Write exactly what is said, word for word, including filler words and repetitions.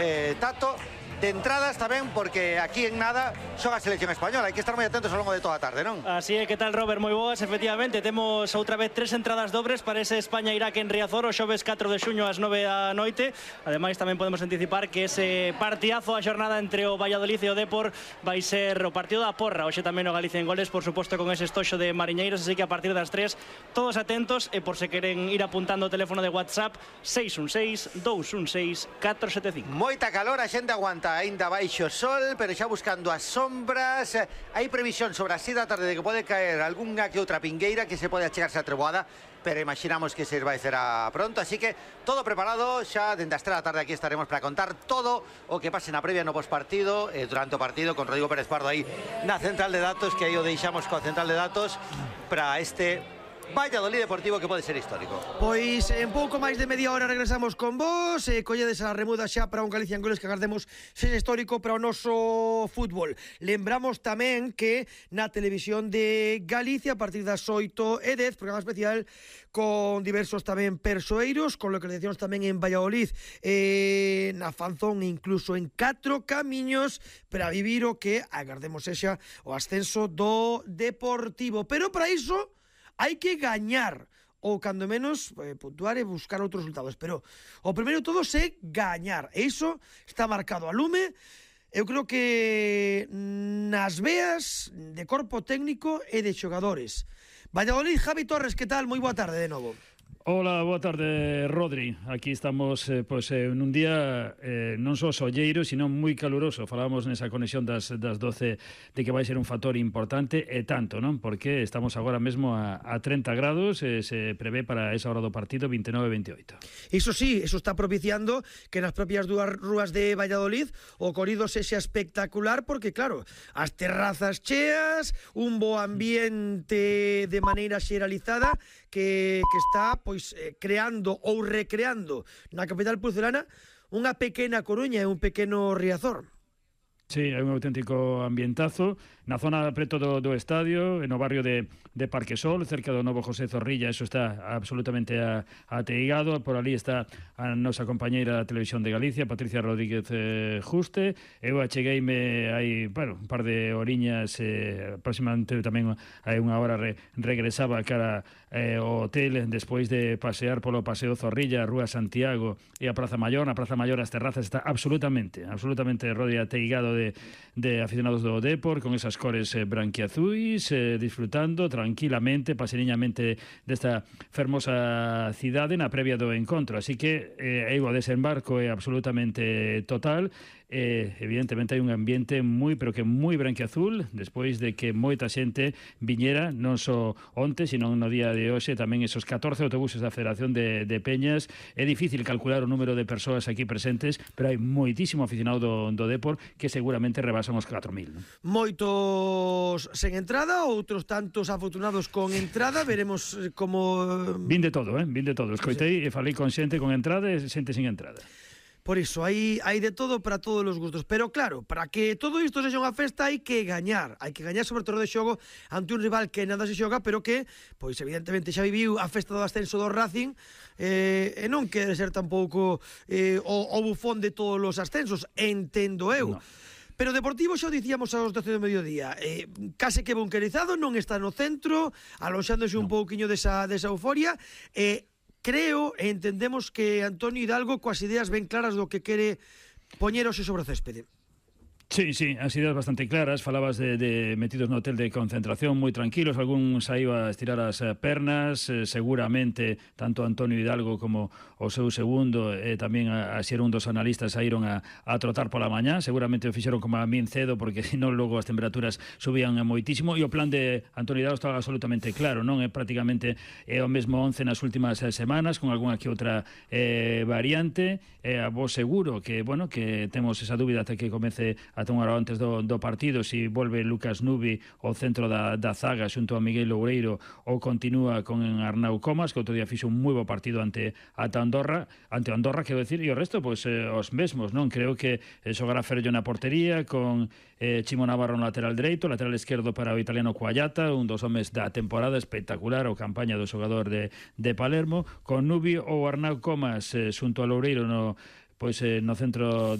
eh, Tato. De entradas tamén, porque aquí en nada xoga a selección española. Hai que estar moi atentos ao longo de toda a tarde, non? Así é, que tal, Robert? Moi boas, efectivamente. Temos outra vez tres entradas dobres para ese España-Iraque en Riazor, o xoves catro de xuño ás nove da noite. Ademais, tamén podemos anticipar que ese partidazo a xornada entre o Valladolid e o Depor vai ser o partido da porra. Hoxe tamén o Galicia en goles, por suposto, con ese estoxo de Mariñeiros, así que a partir das tres, todos atentos, e por se queren ir apuntando o teléfono de WhatsApp, seis un seis, dous un seis, catro sete cinco. Moita calor, a xente aguanta aínda baixo sol, pero xa buscando as sombras. Hai previsión sobre as seis da tarde de que pode caer algunha que outra pingueira que se pode achegarse a treboada, pero imaginamos que se vai será pronto, así que todo preparado. Xa dende as tres da tarde aquí estaremos para contar todo o que pase na previa no pospartido e durante o partido, con Rodrigo Pérez Pardo aí na central de datos, que aí o deixamos coa central de datos para este Valladolid Deportivo, que pode ser histórico. Pois en pouco máis de media hora regresamos con vos, e colledes a remuda xa para un Galicia en goles que agardemos sexa histórico para o noso fútbol. Lembramos tamén que na televisión de Galicia a partir das oito e dez, programa especial con diversos tamén persoeiros, con localizacións tamén en Valladolid, eh, na Fanzón e incluso en Catro Camiños, para vivir o que agardemos sexa o ascenso do Deportivo. Pero para iso hai que gañar, ou cando menos eh, puntuar e buscar outros resultados, pero o primeiro de todo é gañar, e iso está marcado a lume. Eu creo que nas veas de corpo técnico e de xogadores. Valladolid, Javi Torres, que tal? Moi boa tarde de novo. Hola, boa tarde, Rodri. Aquí estamos eh, pues, eh, nun día eh, non só solleiro, sino moi caluroso. Falábamos nesa conexión das, das doce de que vai ser un factor importante, e tanto, non? Porque estamos agora mesmo a, a treinta grados, e se prevé para esa hora do partido vinte e nove a veintioito. Iso sí, eso está propiciando que nas propias dúas rúas de Valladolid o corrido sexa espectacular, porque claro, as terrazas cheas, un bo ambiente de maneira xeralizada que, que está pois eh, creando ou recreando na capital pucelana unha pequena Coruña e un pequeno Riazor. Sí, hai un auténtico ambientazo na zona preto do, do estadio, no barrio de, de Parquesol, cerca do novo José Zorrilla. Eso está absolutamente a, ateigado. Por ali está a nosa compañeira da Televisión de Galicia, Patricia Rodríguez eh, Juste. Eu achegueime hai, bueno, un par de horiñas, eh, aproximadamente tamén hai unha hora re, regresaba cara eh, ao hotel despois de pasear polo Paseo Zorrilla, a Rúa Santiago e a Praza Maior. Na Praza Maior as terrazas está absolutamente, absolutamente Rodri, ateigado de De, de aficionados do Depor, con esas cores eh, branquiazuis, eh, disfrutando tranquilamente, paseniñamente desta fermosa cidade na previa do encontro. Así que eh, o desembarco é absolutamente total. Eh, evidentemente hai un ambiente moi, pero que moi branquiazul, despois de que moita xente viñera, non só onte, sino no día de hoxe, tamén esos catorce autobuses da Federación de, de Peñas. É difícil calcular o número de persoas aquí presentes, pero hai moitísimo aficionado do, do Depor que seguramente rebasan os catro mil, non? Moitos sen entrada, outros tantos afortunados con entrada. Veremos como... Vin de todo, eh? Vin de todo. Escoitei e falei con xente con entrada e xente sin entrada. Por iso, hai, hai de todo para todos os gustos. Pero claro, para que todo isto sexa unha festa hai que gañar. Hai que gañar sobre todo de xogo ante un rival que nada se xoga, pero que, pois evidentemente xa viviu a festa do ascenso do Racing, eh, e non quere ser tampouco eh, o, o bufón de todos os ascensos, entendo eu. No. Pero o Deportivo, xa o dicíamos aos doce do mediodía, eh, case que bunkerizado, non está no centro, aloxándose no. un pouquiño desa, desa euforia, e eh, creo e entendemos que Antonio Hidalgo coas ideas ben claras do que quere poñer hoxe sobre o céspede. Sí, sí, as ideas bastante claras. Falabas de, de metidos no hotel de concentración moi tranquilos, algún saíu a estirar as pernas, eh, seguramente tanto Antonio Hidalgo como o seu segundo e eh, tamén a, a ser un dos analistas saíron a, a trotar pola mañá, seguramente o fixeron como a min cedo, porque senón logo as temperaturas subían moitísimo, e o plan de Antonio Hidalgo estaba absolutamente claro, non é prácticamente é o mesmo once nas últimas semanas, con algunha que outra eh, variante, e eh, a vos seguro que, bueno, que temos esa dúbida até que comece a ata unha hora antes do, do partido, si volve Lucas Nubi ao centro da, da zaga xunto a Miguel Loureiro, ou continúa con Arnau Comas, que outro día fixo un moi bo partido ante ata Andorra, ante Andorra, quero decir, e o resto, pois, eh, os mesmos, non? Creo que eh, xogará Ferrollo na portería, con eh, Chimo Navarro no lateral dereito, lateral esquerdo para o italiano Coallata, un dos homes da temporada espectacular, o campaña do xogador de, de Palermo, con Nubi ou Arnau Comas eh, xunto a Loureiro no, pois, eh, no centro